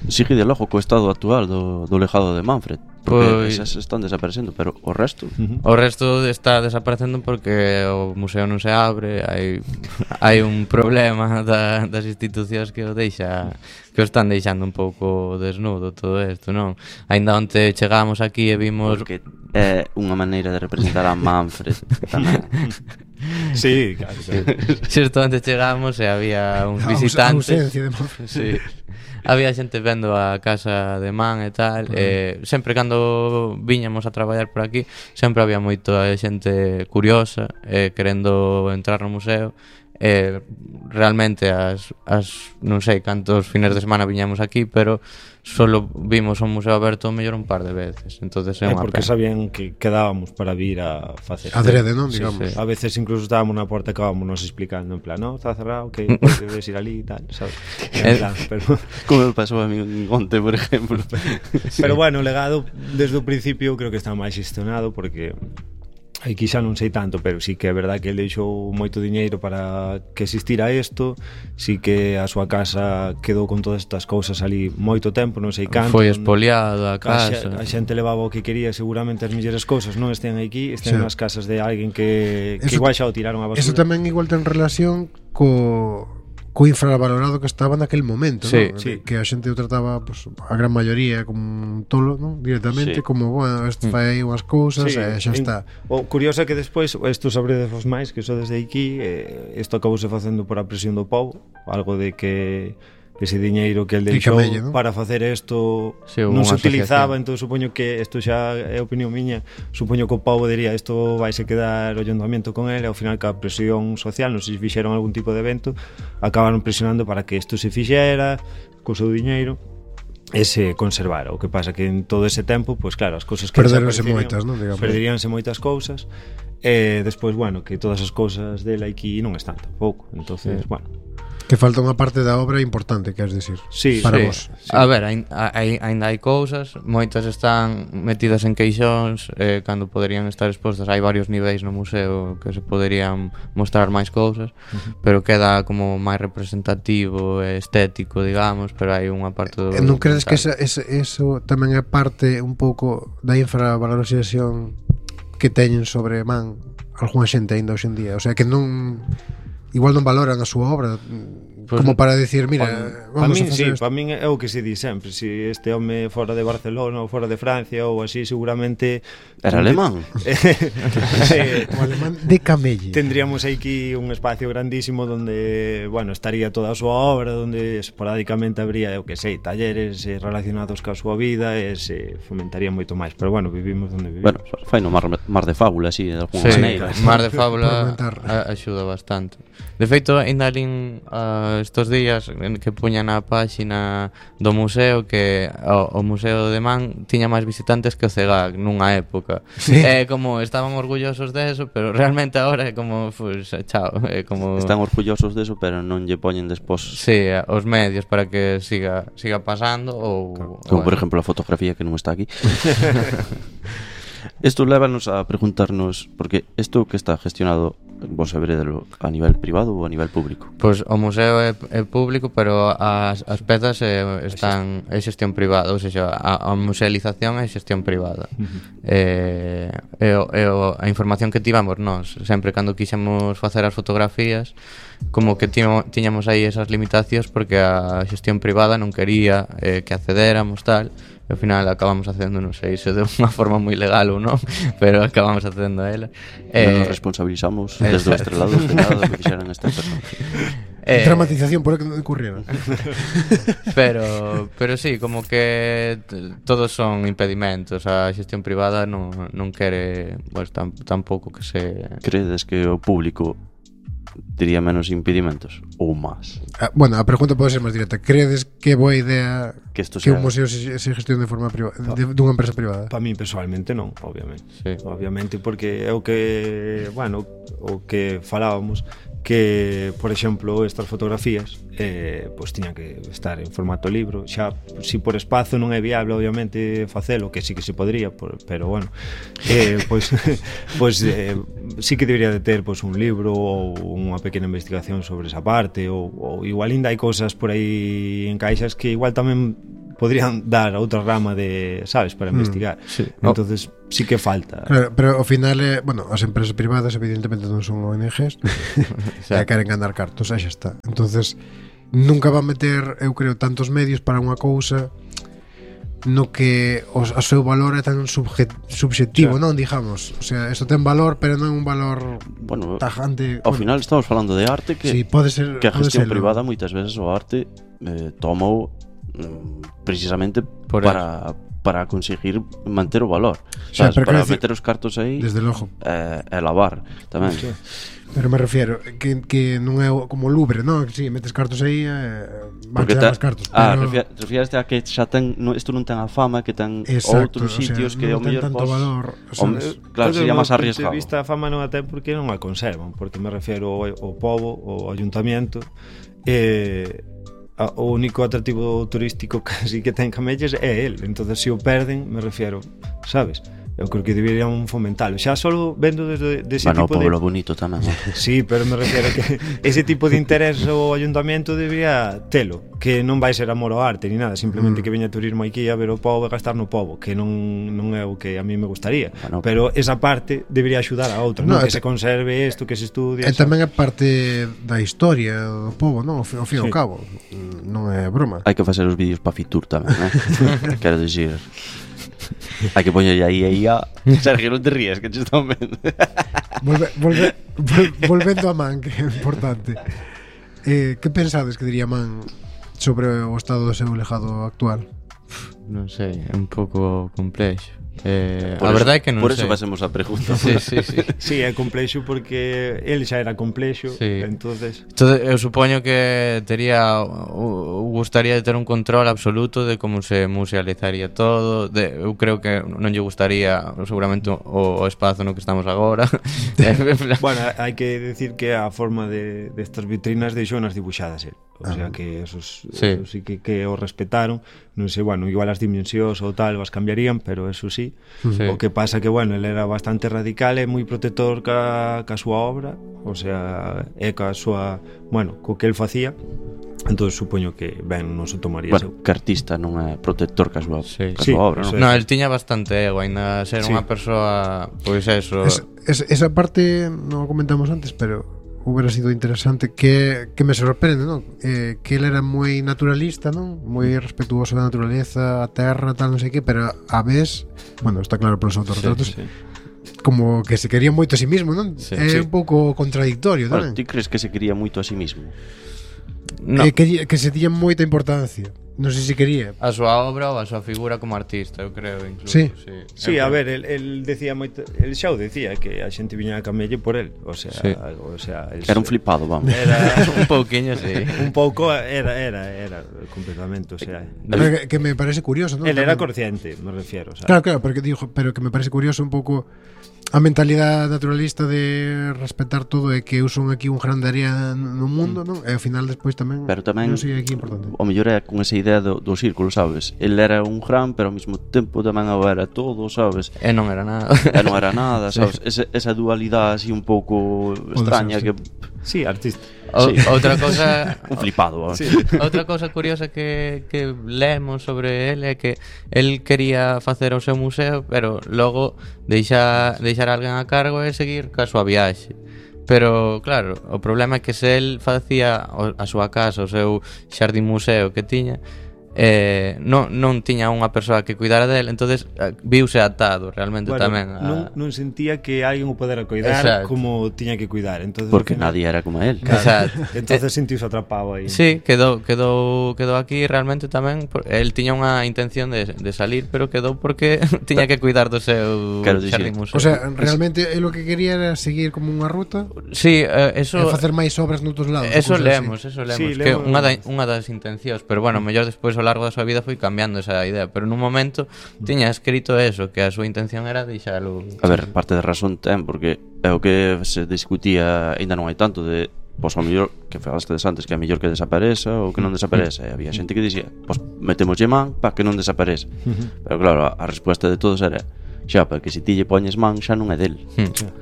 Sigue de logo co estado actual do lejado de Manfred, porque esas están desaparecendo, pero o resto o resto está desaparecendo porque o museo non se abre, hai un problema das institucións que o están deixando un pouco desnudo todo isto, non? Ainda onte chegamos aquí e vimos porque é unha maneira de representar a Manfred tamén. Sí, claro. Xusto onte chegamos e había uns visitantes. A ausencia de Manfred. Sí. Había xente vendo a casa de Man e tal, sempre cando viñamos a traballar por aquí, sempre había moita xente curiosa, querendo entrar no museo. Realmente non sei cantos fines de semana viñamos aquí, pero solo vimos o museo aberto mellor un par de veces, entonces é unha porque pena. Sabían que quedábamos para vir a facer adrede, non, digamos. Sí. A veces incluso estábamos na porta e acabábamos nos explicando en plan, no, está cerrado, que debes ir ali e tal, sabes? Pero como me pasou a mí onte, por exemplo. Pero bueno, o legado desde o principio creo que está máis xestionado, porque aquí xa non sei tanto, pero sí que é verdad que ele deixou moito diñeiro para que existira isto, sí que a súa casa quedou con todas estas cousas ali moito tempo, non sei canto. Foi espoliado a casa. A xente levaba o que quería, seguramente as mellores cousas non estén aquí, estén nas casas de alguén que igual xa o tiraron a basura. Eso tamén igual ten relación co infravalorado que estaba naquel momento, sí, ¿no? Sí. Que a xente o trataba, pues, a gran maioría como un tolo, ¿no? Directamente, como, bueno, este fai aí unhas cousas e xa está. O curioso é que despois isto sabredevos máis, que iso desde aquí isto acabouse facendo por a presión do povo, algo de que ese diñeiro que el deixou ¿no? para facer isto non se utilizaba, entón supoño que isto xa é opinión miña, supoño que o povo diría isto vaise quedar o ayuntamiento con ele, ao final que a presión social, non se fixeron algún tipo de evento, acabaron presionando para que isto se fixera co seu diñeiro e se conservara. O que pasa que en todo ese tempo, pois claro, as cousas que perderonse moitas, non, digamos. Perderíanse moitas cousas e despois, bueno, que todas as cousas dele aquí non están tampouco. Entonces, bueno, que falta unha parte da obra importante, queres dicir? Sí, para sí, vos. Sí. A ver, ainda hai cousas, moitas están metidas en queixóns, cando poderían estar expostas. Hai varios niveis no museo que se poderían mostrar máis cousas, pero queda como máis representativo e estético, digamos, pero hai unha parte do... Non credes que eso tamén é parte un pouco da infravalorización que teñen sobre Man algunha xente aínda hoxe en día? O sea, que non... igual non valoran a súa obra, pues, como para decir, mira, vamos a facer para min é o que se di sempre, se este home fora de Barcelona ou fora de Francia ou así, seguramente era alemán. Sí, o alemán de Camelle. Tendríamos aquí un espacio grandísimo donde, bueno, estaría toda a súa obra, donde esporádicamente habría, eu que sei, talleres relacionados ca súa vida e se fomentaría moito máis, pero bueno, vivimos onde vivimos. Bueno, fai no mar de fábula, así, de alguna maneira. Mar de fábula axuda bastante. De feito, ainda alín estos días que puñan na páxina do museo que o Museo de Man tiña máis visitantes que o CEGAC nunha época. Sí. Como estaban orgullosos de eso, pero realmente agora é como, pues, chao, como... Están orgullosos de eso, pero non lle poñen despois. Sí, os medios para que siga pasando ou... Como, por exemplo, a fotografía que non está aquí. Isto lévanos a preguntarnos, porque isto que está gestionado, vos sabredelo a nivel privado ou a nivel público? Pois o museo é público, pero as pezas están é xestión privada, ou seja, a musealización é xestión privada. A información que tivamos nós, sempre cando quixemos facer as fotografías, como que tiñamos aí esas limitacións porque a xestión privada non quería que accedéramos tal. Ao final acabamos facendo, non sei se de unha forma moi legal ou non, pero acabamos facendo a ela. Non nos responsabilizamos desde o estrelado de nada do que fixeran estas persoas. Dramatización por que non ocurrieron. Pero sí, como que todos son impedimentos. A xestión privada non quere, pues, tampouco que se... Credes que o público tería menos impedimentos ou máis? Bueno, a pregunta pode ser máis directa. Credes que é boa idea Que un museo se gestione de forma privada, dunha empresa privada? Para mí personalmente non, obviamente. Sí. Obviamente porque é o que, bueno, o que falábamos, que, por exemplo, estas fotografías pois tiñan que estar en formato libro. Xa, si por espazo non é viable, obviamente, facelo, que sí que se podría, pero bueno, pois sí que debería de ter pois un libro ou unha pequena investigación sobre esa parte, ou igual ainda hai cousas por aí en caixas que igual tamén podrían dar a outra rama de, sabes, para investigar. Sí. Entonces sí que falta. Claro, pero ao final, bueno, as empresas privadas evidentemente non son ONGs e queren ganar cartos, xa está. Entonces nunca va a meter, eu creo, tantos medios para unha cousa no que o seu valor é tan subjetivo, non, digamos. O sea, isto ten valor, pero non é un valor tajante. Ao final estamos falando de arte que, sí, pode ser, que a gestión privada moitas veces o arte tomou precisamente para conseguir manter o valor, sabes, para meter os cartos aí, desde logo, e lavar tamén. Sí. Pero me refiero que non é como o Louvre, non? Que si, metes cartos aí van chegar máis cartos, pero... refiraste a que xa ten, isto non ten a fama que ten outros sitios, o sea, que ao mellor tanto valor, o sea, claro, sería máis arriesgado. De vista a fama non a ten porque non a conservan, porque me refiero ao pobo, ao ayuntamiento, o único atractivo turístico casi que ten Camelles é el. Entonces se o perden, me refiero, sabes, eu creo que deberían fomentalo. Xa solo vendo desde ese tipo de... Bueno, o bonito tamén. Sí, pero me refiero que ese tipo de interés o ayuntamiento debería telo, que non vai ser amor ao arte ni nada, simplemente que veña turismo aquí a ver o pobo e gastar no pobo, que non é o que a mí me gustaría. Pero esa parte debería axudar a outra, non? Que se conserve isto, que se estudie. E tamén é parte da historia do pobo, non? Ao fin e ao cabo, non é broma. Hai que facer os vídeos para Fitur tamén, quero dicir. Hai que poñer aí a Sergio, non te ríes, que te están vendo. Volvendo a Man, que é importante. Que pensades que diría Man sobre o estado do seu legado actual? Non sei, é un pouco complexo. A verdade é que non sei. Por eso facemos a pregunta. Sí. Sí, é complexo porque el xa era complexo, sí. Entonces eu supoño que gustaría de ter un control absoluto de como se musealizaría todo. Eu creo que non lle gustaría seguramente o espazo no que estamos agora. Bueno, hai que decir que a forma de estas vitrinas deixounas dibuixadas el. O sea que esos sí que o respetaron. Non sei, bueno, igual as dimensións ou tal as cambiarían, pero eso sí. O que pasa que, bueno, ele era bastante radical e moi protector ca súa obra, o sea, e ca súa, bueno, co que el facía. Entón supoño que ben non se tomaría. Bueno, que artista non é protector ca súa obra, non? No, el tiña bastante ego, ainda ser unha persoa, pois eso. Esa parte non o comentamos antes, pero hubiera sido interesante que me sorprende, non? Que ele era moi naturalista, non? Moi respetuoso da naturaleza, a terra, tal, non sei que, pero a vez, bueno, está claro polos autorretratos, como que se quería moito a sí mismo, non? É un pouco contradictorio, non? Bueno, ti crees que se quería moito a sí mismo? No. Que se tiña moita importancia. Non sei se quería a súa obra ou a súa figura como artista, eu creo, incluso. Sí, a ver, el decía moito, el xa o decía que a xente viña a Camelle por el, o sea, era un flipado, vamos. Era un pouquiño, sí. Un pouco era completamente, o sea. Que me parece curioso, ¿no? Él era consciente, me refiero, ¿sabes? Claro, pero que me parece curioso un pouco a mentalidade naturalista de respetar todo e que eu son aquí un grande área no mundo, non? E ao final despois tamén, pero tamén non sei aquí importante. O mellor é con esa idea do círculo, sabes? El era un gran, pero ao mesmo tempo tamén era todo, sabes? E non era nada. Sabes? Esa dualidade así un pouco extraña que... Sí, artista. Outra cousa un flipado, sí. Outra cousa curiosa que lemos sobre ele é que el quería facer o seu museo, pero logo deixar alguén a cargo e seguir ca súa viaxe. Pero claro, o problema é que se el facía a súa casa, o seu xardín museo que tiña, non tiña unha persoa que cuidara del, entonces viuse atado realmente tamén non sentía que alguén o podera cuidar como tiña que cuidar, entonces porque nadie era como él. Exacto. Entonces sentiuse atrapado aí. Sí, quedou aquí realmente tamén. El tiña unha intención de salir, pero quedou porque tiña que cuidar do seu xardín museo. O sea, realmente lo que quería era seguir como unha ruta. Sí, eso e facer máis obras noutros lados. Eso lemos, sí, que unha das intencións, pero bueno, mellor despois ao largo da súa vida foi cambiando esa idea, pero nun momento tiña escrito eso, que a súa intención era deixalo. A ver, parte de razón ten, porque é o que se discutía, ainda non hai tanto de, pois ao mellor, que falaste antes, que é mellor que desapareza ou que non desapareza, e había xente que dicía, pois metemoslle man para que non desapareza. Pero claro, a resposta de todos era xa, porque se ti lle poñes man xa non é del.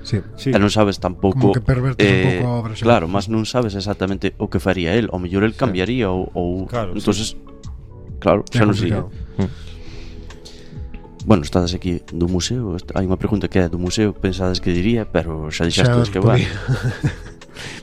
Sí. E non sabes tampouco como que pervertes un pouco a obra xa. Claro, mas non sabes exactamente o que faría el. Ao mellor el cambiaría ou claro, entonces claro, xa non sei. Bueno, estades aquí do museo. Hai unha pregunta que é do museo, pensades que diría, pero xa dixastes que vai.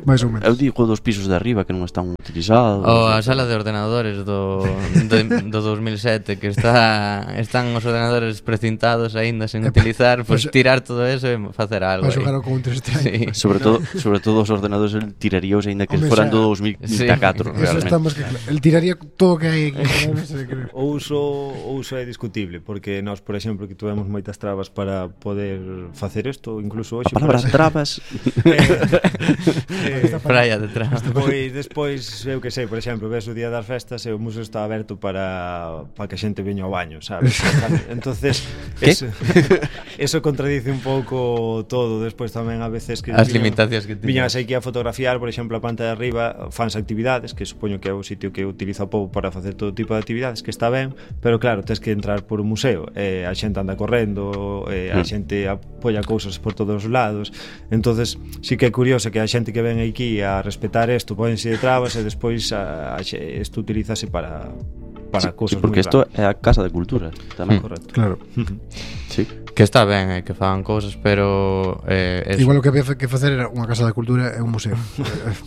Mais ou menos. Eu digo dos pisos de arriba que non están utilizados. A sala de ordenadores do 2007, que están os ordenadores precintados aínda sen utilizar, pois tirar todo eso e facer algo. Para xogar ao Counter-Strike. Sí. Sobre todo os ordenadores el tiraríos aínda que foran do 2004, sí. realmente. Estamos que el tiraría todo que hai aquí. O uso é discutible, porque nós, por exemplo, que tuvemos moitas trabas para poder facer isto, incluso hoxe. A palabra trabas praia detrás. Pois despois, eu que sei, por exemplo, ves o día das festas e o museo está aberto para que a xente veña ao baño, sabes? Entonces, eso contradice un pouco todo. Despois tamén a veces que as limitacións que viñas aquí a fotografiar, por exemplo, a panta de arriba, fans actividades, que supoño que é o sitio que utiliza o povo para facer todo tipo de actividades, que está ben, pero claro, tens que entrar por un museo, a xente anda correndo, a xente apoia cousas por todos os lados. Entonces, sí que é curioso que a xente que ven aquí a respetar isto, pódense de trabas e despois isto utilízase para cousas porque isto é a Casa de Cultura tamén. Correcto. Claro. Sí. Que está ben, que fagan cousas, pero igual o que había que facer era unha Casa da Cultura e un museo.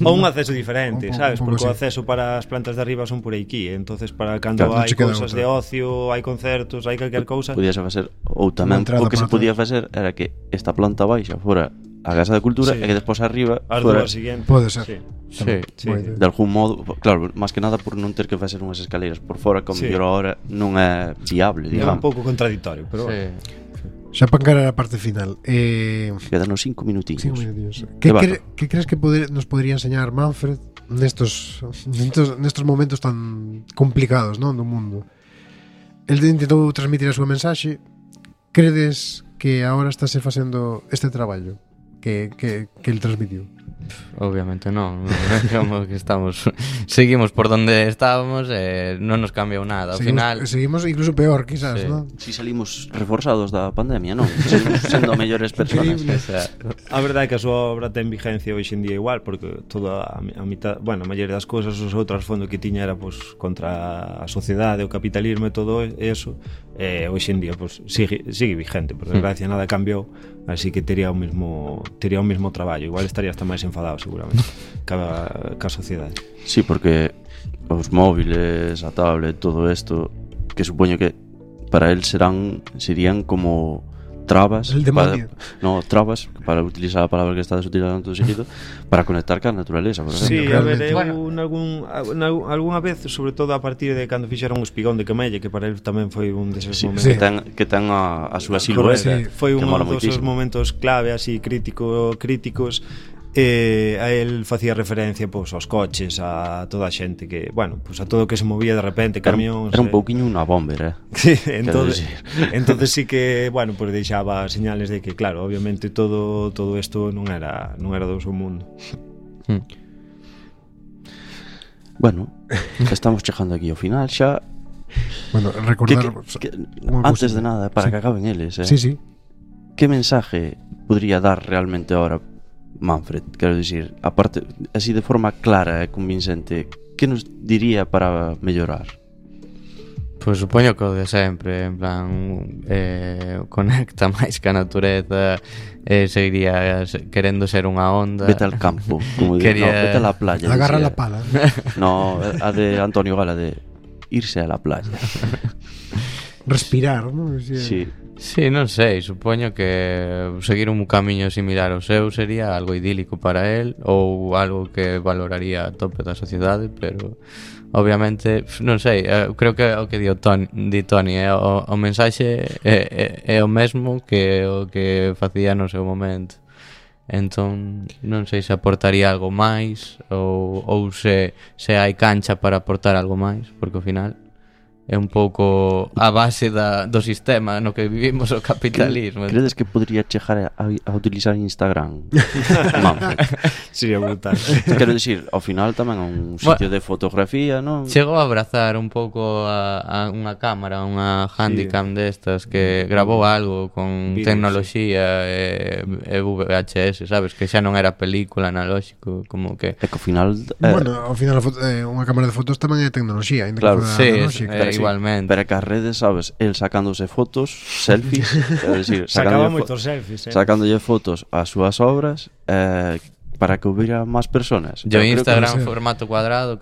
Ou un acceso diferente, sabes? Porque o así. acceso para as plantas de arriba son por aquí, entonces para cando hai cousas de ocio, hai concertos, hai calquer cousa, podíase facer, ou tamén o que se podía facer era que esta planta baixa fora a Casa de Cultura e que despois arriba as fora, dúas siguientes. Pode ser. Sí. de algún modo, claro, máis que nada por non ter que facer unhas escaleiras por fora, que a mellor ahora non é viable, É digamos. un pouco contradictorio, pero Xa para encarar a parte final. Quedanos 5 minutinhos. 5 minutinhos. Que crees que nos podría enseñar Manfred nestos momentos tan complicados, non, do mundo? El intentou transmitir a súa mensaxe. Credes que agora estáse facendo este traballo que el transmitiu? Obviamente non, como que seguimos por donde estábamos e non nos cambiou nada. Ao final seguimos incluso peor, quizás, non? Si salimos reforzados da pandemia, non? Seguimos sendo mellores persoas. A verdade é que a súa obra ten vigencia hoxe en día igual, porque toda a mitad, bueno, a maioría das cousas, os outros fondos que tiña era pues, contra a sociedade, o capitalismo e todo eso, hoxe en día pues, sigue vigente, por desgracia nada cambiou, así que tería o mesmo traballo, igual estaría hasta máis enfadado seguramente ca sociedade. Sí, porque os móviles, a tablet, todo isto, que supoño que para él serían como trabas trabas, para utilizar a palabra que estás utilizando todo seguido, para conectar ca naturaleza, por exemplo. Sí, a ver, algunha vez, sobre todo a partir de cando fixeron o espigón de Camelle, que para él tamén foi un deses momentos que ten a súa silueta, foi un dos momentos clave así críticos. A él facía referencia pois, aos coches, a toda a xente que, bueno, pois, a todo o que se movía de repente, camións. Era un pouquiño unha bomber, Sí, entonces sí que, bueno, pois deixaba señales de que, claro, obviamente todo isto non era do seu mundo. Bueno, estamos chegando aquí ao final xa. Bueno, recordar antes de nada, para que acaben eles, Sí. Que mensaje podría dar realmente ahora Manfred? Quero dicir, aparte, así de forma clara e convincente, que nos diría para mellorar? Pois supoño que o de sempre, en plan conecta máis ca natureza, seguiría querendo ser unha onda. Vete al campo, como vete a la playa. Agarra la pala. No, a de Antonio Gala de irse a la playa. Respirar, ¿no? Sí. Sí, non sei, supoño que seguir un camiño similar ao seu sería algo idílico para él ou algo que valoraría a tope da sociedade, pero obviamente, non sei, creo que o que di Toni o mensaxe é o mesmo que o que facía no seu momento. Entón, non sei se aportaría algo máis ou se hai cancha para aportar algo máis, porque ao final é un pouco a base do sistema no que vivimos o capitalismo. Credes que podría chegar a utilizar Instagram? Manfred. Sería brutal. Quero dicir, ao final tamén é un sitio de fotografía, non? Chegou a abrazar un pouco a unha cámara, unha Handycam destas que grabou algo con tecnoloxía e VHS, sabes? Que xa non era película analóxico, como que... É que ao final... Bueno, ao final unha cámara de fotos tamén é tecnoloxía, ainda claro, que analóxica. Igualmente. Pero que as redes, sabes, el sacándose fotos, selfies, é dicir, sacaba moitos selfies, sacándolle fotos ás súas obras para que hubiera máis personas. Yo Instagram formato cuadrado